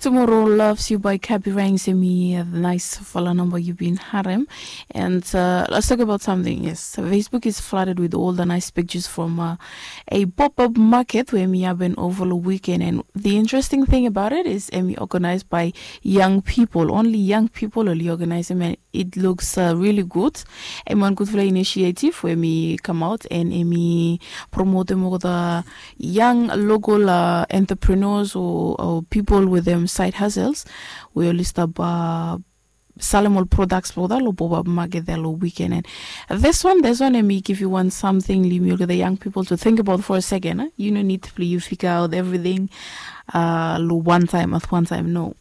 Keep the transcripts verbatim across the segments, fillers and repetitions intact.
Tomorrow Loves You by Kabi Ranks, em i naisfala namba yu bin harem. And uh, let's talk about something. Yes, Facebook is flooded with all the nice pictures from uh, a pop-up market we em i happen over the weekend. And the interesting thing about it is em i organized by young people. Only young people oli organize em, and it looks uh, really good. Em wan gudfala initiative we em i come out and em i promote em olgeta young local uh, entrepreneurs or, or people with them side hustles we oli stap uh, salem ol products blong olgeta long pop-up market there long weekend. And this one, this one em i give you one something, yumi olgeta young people to think about for a second. Huh? You no need to you figure out everything uh, long one time at one time, no.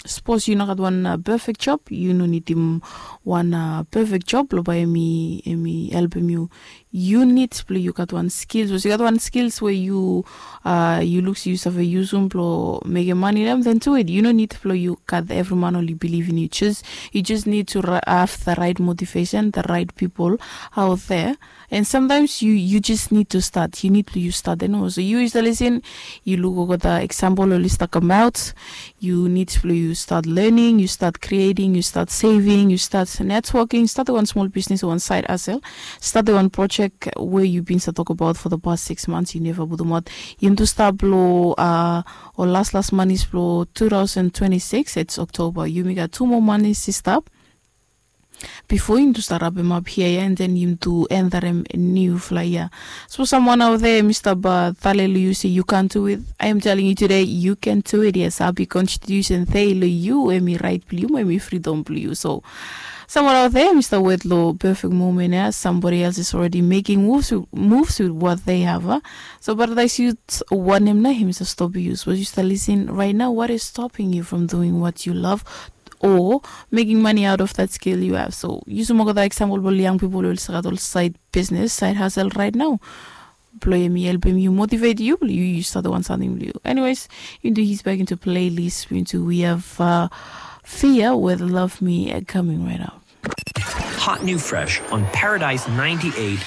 Sapos yu no gat wan uh, perfect job, yu no nidim wan uh, perfect job blong bae em i helpem yu. Yu nid blong yu gat wan skills. Sapos yu gat wan skills we yu uh, yu luk se yu save yusum blong mekem mani long em, then do it. Yu no nid blong yu gat evri man oli bilivim yu. Just, you just need to have the right motivation, the right people out there. And sometimes you you just need to start. You need to you start and also you is the lesson. You look over the example oli start come out. You need to you start learning, you start creating, you start saving, you start networking, start one small business, one side hustle, start one project where you've been to talk about for the past six months, you never put them out. You need to start blow uh or last last money blow two thousand twenty-six, it's October. You make a two more money, sister. Bifo yumi tu stap rapem ap hia ya, and then yumi tu endarem niufala yia. Sapos samwan aot dea em i stap tale long yu se yu kan tu it, I am telling you today you can do it. Yes, hapi konstitusen dei long yu em i rait blong yu mo em i fridom blong yu. So samwan aot dea em i stap wet long perfect moment ya. Somebody else is already making moves with what they have. So paradais yu wanem na em i stap stopim yu? Sapos yu stap lisin right now, what is stopping you from doing what you love or making money out of that skill you have? So yusum olgeta example blong ol young people we oli stap gat ol side business, side hustle right now. Blong em i helpem yu, motivate yu blong yu yu start wan something blong yu. Anyways, into his back into playlist into we have uh, Fear with Love Me uh, coming right out. Hot new fresh on Paradise ninety-eight